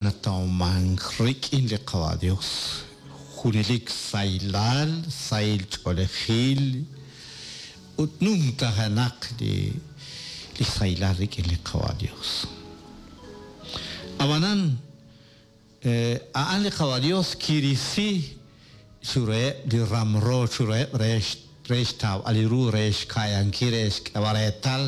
Natawmank rik'in li Qawa' Dios junelik sahilal, sahil ch'oolejil ut numtajenaq li li sahilal rik'in li Qawa' Dios. Ab'anan a'an li Qawa' Dios kirisi chiruheb' li ramro chiruheb' re re xtawb'al li ru, re xka'yankil, re xk'eb'al reetal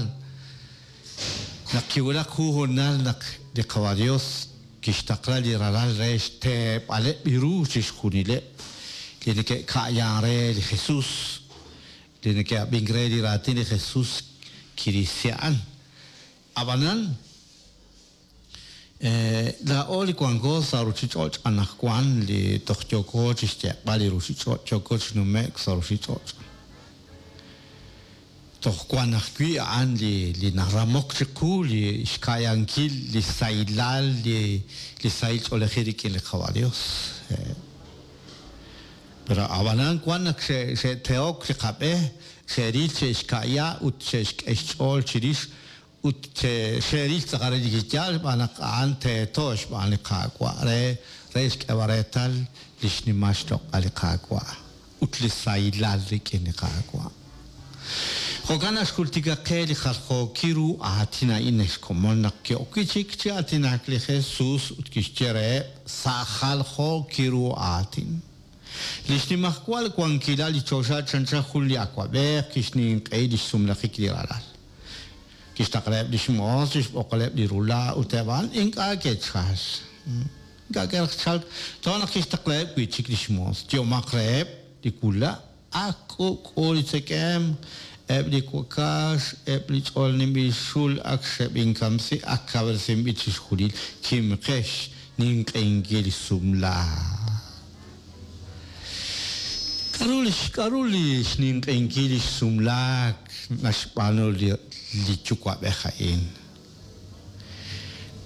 naq kiwulak jun hoonal naq li Qawa' Dios kixtaqla li Ralal re xteeb'aleb' li ru chixjunileb' li neke'ka'yan re li Jesus, li neke'ab'ink re li raatin li Jesus kirisi a'an. Ab'anan, laa'o li wanko sa' ruchich'och' anaqwan li toj yooko chixyeq'b'al li ruchich'och', yooko chi nume'k sa' ruchich'och'. Toj wan ajwi' a'an li li naramok chiqu li xka'yankil li sahilal, li li sahil ch'oolejil rik'in li Qawa' Dios. Pero ab'anan wan naq xe'tehok li qab'e, xe'ril xe'xka'ya ut xe'xk'e xch'ool chirix ut xe'ril tz'aqal relik chi yaal xb'aan naq a'an teeto xb'aan li Qaawa' re re xk'eeb'al reetal li xnimal xloq'al li Qaawa' ut li sahilal rik'in li Qaawa'. Jo'kan naq xjultika qe li jaljookil ru aatin a'in ex komon naq ki'ok wi' chik chi aatinak li Jesus ut kixye reheb' sa' jaljookil ru aatin. Li xnimajwal wankilal li choxa chanchan jun li awab'ej kixninq'ehi li xsumlajik li ralal. Kixtaqlaheb' li xmoos chi xb'oqaleb' li rula' ut eb' a'an ink'a' ke'chalk. Ink'a' ke'raj chalk. Toja' naq kixtaqlaheb' wi' chik li xmoos, Yehomaq reheb' li wula', Ak k'ub'k'u li tzekemq, eb' li wakax, eb' li ch'olninb'il xul ak xeb'inkamsi, ak kawresinb'il chixjunil, kimqex ninq'ehinkil li sumlaak. K'aru li k'aru li xninq'ehinkil li xsumlaak naxb'aanu li li yuwa'b'ej a'in?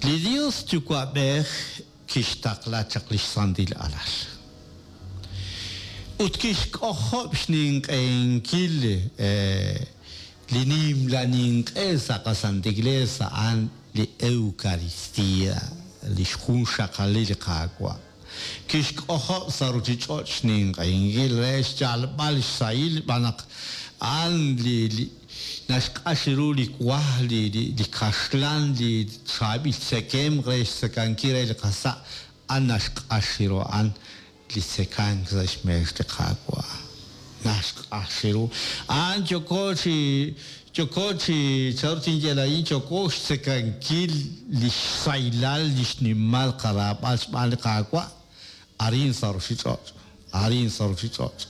Li Dios Yuwa'b'ej kixtaqla chaq li xsantil Alal. Ut kixk'ojob' xninq'ehinkil li nimla ninq'e sa' qaSanta Iglees a'an li Eucaristía, li xjunxaqalil li Qaawa'. Kixk'ojob' sa' ruchich'och' xninq'ehinkil re xyalb'al xsahil xb'aan naq a'an li naxq'ax ru li wa, li kaxlan, li chaab'il tzekemq re xtzekankil re li qasa', a'an naxq'ax ru a'an li tzekank sa' xmeex li Qaawa'. Naxq'ax ru. A'an yooko chi yooko chi chanru tinye laa'in yooko xtzekankil li xsahilal li xnimal qaraab'al xb'aan li Qaawa' arin sa' ruchich'och', arin sa' ruchich'och'.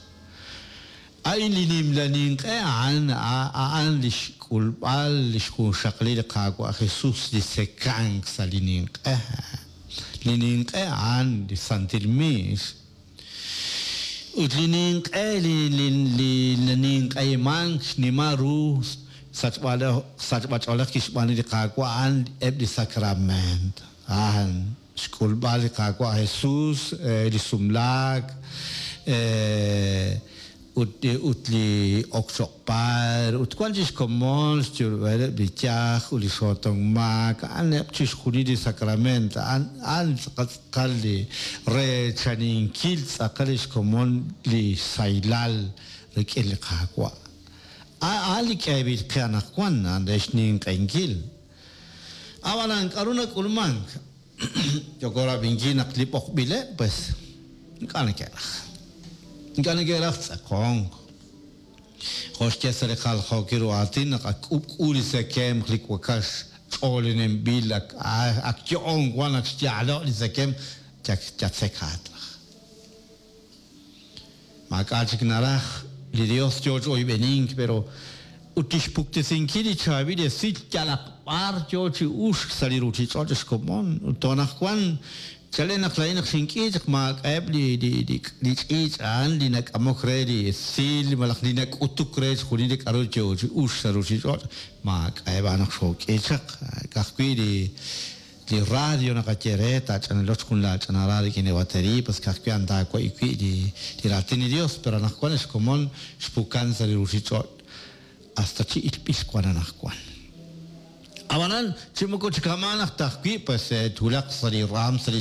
A'in li nimla ninq'e a'an a'an li xk'ulb'al li xjunxaqalil li Qaawa' Jesus li tzekank sa' li ninq'e. Li ninq'e a'an li santil miix. Ut li ninq'e li li naninq'ehimank xnimal ru sachb'ach'oolej kixb'aanu li Qaawa' a'an eb' li sakrameent. A'an xk'ulb'al li Qaawa' Jesus, li sumlaak, ut ut li ok choq' paar, ut wan chik xkomon xyulb'aleb' li yaj ut li xootonk maak, a'aneb' chixjunil li sakrament, a'an a'an tz'aqal tz'aqal li reechaninkil tz'aqal li xkomon li sahilal rik'in li Qaawa'. A'an li k'eeb'il qe anaqwan, a'an re xninq'ehinkil. Ab'anan, k'aru nak'ulmank? Yooko rab'inkil naq li b'oqb'ileb', pues, ink'a' neke'raj. Ink'a' neke'raj tz'aqonk. Jo' xye sa' li jaljookil ru aatin naq ak k'ub'k'u li tzekemq li wakax ch'oolinenb'il, ak ak yo'on wan, ak xyaalo' li tzekemq, yatzekaat raj. Maak'a' chik naraj, li Yos yo chi oyb'enink, pero ut li xpuktesinkil li chaab'il esil yalaq b'ar yo chi uxk sa' li ruuchich'och' xkomon. Ut toj anaqwan, chalen naq laa'in naq xink'i chaq maak'a'eb' li li ch'iich' a'an li nak'amok re li esil malaj li nak'utuk re chixjunil li k'aru yo chi uxk sa' ruuchich'och', maak'a'eb' a'an naq xook'i chaq. Ka'ajwi' li Li radio naqaye re, taach'analoch jun laach'anara rik'in li baterii, pues ka'ajwi' a'an taawa'i wi' li li raatin li Dios, pero anaqwan ex komon xpukan sa' li ruchich'och' hasta chi ilb'il wan anaqwan. Ab'anan chi moko chi kama'an aj ta ajwi' pues twulaq sa' li raam sa' li.